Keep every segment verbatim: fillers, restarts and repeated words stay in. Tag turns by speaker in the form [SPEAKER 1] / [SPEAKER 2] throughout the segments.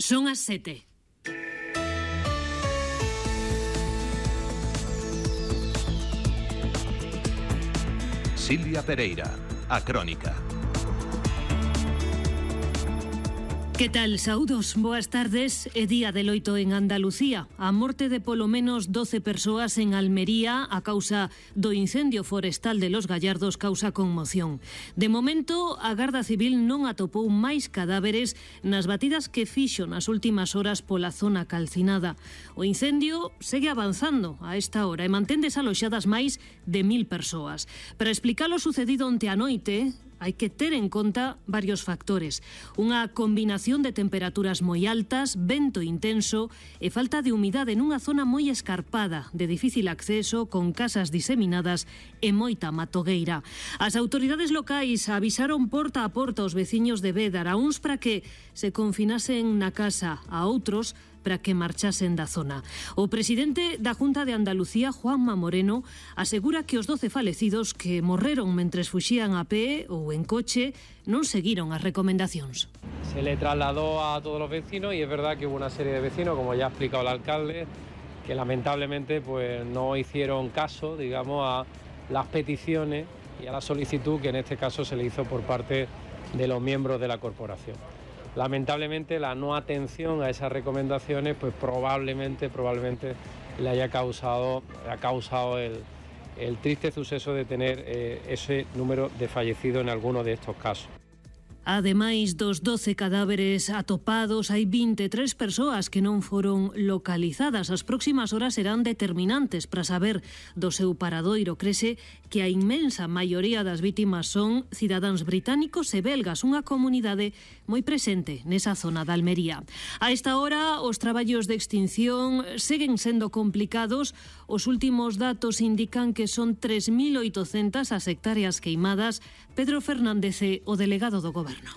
[SPEAKER 1] Son as sete.
[SPEAKER 2] Silvia Pereira, a Crónica.
[SPEAKER 1] Que tal, saúdos? Boas tardes. É día de loito en Andalucía. A morte de polo menos doce persoas en Almería a causa do incendio forestal de Los Gallardos causa conmoción. De momento, a Garda Civil non atopou máis cadáveres nas batidas que fixo nas últimas horas pola zona calcinada. O incendio segue avanzando a esta hora e mantén desaloxadas máis de mil persoas. Para explicar o sucedido onte a noite, hai que ter en conta varios factores. Unha combinación de temperaturas moi altas, vento intenso e falta de humidade nunha zona moi escarpada, de difícil acceso, con casas diseminadas e moita matogueira. As autoridades locais avisaron porta a porta aos veciños de Bédar, a uns para que se confinasen na casa, a outros para que marchasen da zona. O presidente da Junta de Andalucía, Juanma Moreno, asegura que os doce falecidos que morreron mentres fuxían a pé ou en coche non seguiron as recomendacións.
[SPEAKER 3] Se le trasladó a todos los vecinos y es verdad que hubo una serie de vecinos, como ya ha explicado el alcalde, que lamentablemente pues no hicieron caso, digamos, a las peticiones y a la solicitud que en este caso se le hizo por parte de los miembros de la corporación. Lamentablemente la no atención a esas recomendaciones pues probablemente, probablemente le haya causado, ha causado el, el triste suceso de tener eh, ese número de fallecidos en algunos de estos casos.
[SPEAKER 1] Ademais dos doce cadáveres atopados, hai vinte e tres persoas que non foron localizadas. As próximas horas serán determinantes para saber do seu paradoiro. Crese que a inmensa maioría das vítimas son cidadáns británicos e belgas, unha comunidade moi presente nesa zona da Almería. A esta hora, os traballos de extinción seguen sendo complicados. Os últimos datos indican que son tres mil oitocentas as hectáreas queimadas. Pedro Fernández é o delegado do Goberno.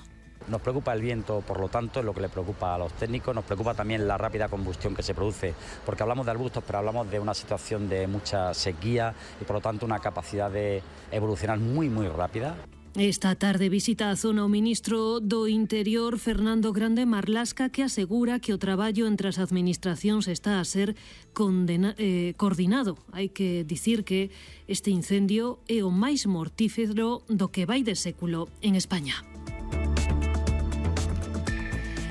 [SPEAKER 4] Nos preocupa el viento, por lo tanto, es lo que le preocupa a los técnicos. Nos preocupa también la rápida combustión que se produce, porque hablamos de arbustos, pero hablamos de una situación de mucha sequía y, por lo tanto, una capacidad de evolucionar muy, muy rápida.
[SPEAKER 1] Esta tarde visita a zona o ministro do Interior, Fernando Grande Marlasca, que asegura que o traballo entre as administracións está a ser condena, eh, coordinado. Hai que dicir que este incendio é o máis mortífero do que vai de século en España.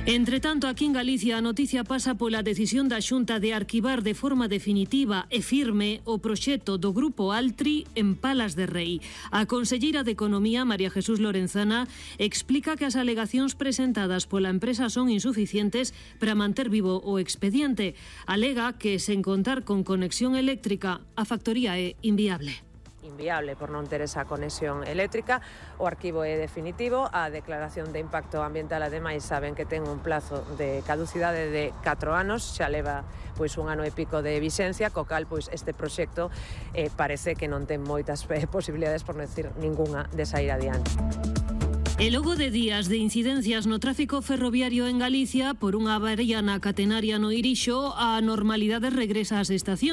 [SPEAKER 1] Entre tanto, aquí en Galicia a noticia pasa pola decisión da Xunta de arquivar de forma definitiva e firme o proxecto do Grupo Altri en Palas de Rei. A conselleira de Economía, María Jesús Lorenzana, explica que as alegacións presentadas pola empresa son insuficientes para manter vivo o expediente. Alega que, sen contar con conexión eléctrica, a factoría é inviable.
[SPEAKER 5] Inviable por non ter esa conexión eléctrica. O arquivo é definitivo, a declaración de impacto ambiental ademais saben que ten un plazo de caducidade de catro anos, xa leva pois un ano e pico de vixencia, co cal pois este proxecto eh, parece que non ten moitas eh, posibilidades, por non decir ningunha, de sair adiante.
[SPEAKER 1] E logo de días de incidencias no tráfico ferroviario en Galicia por unha avaría na catenaria no Irixo, a normalidade regresa ás estacións.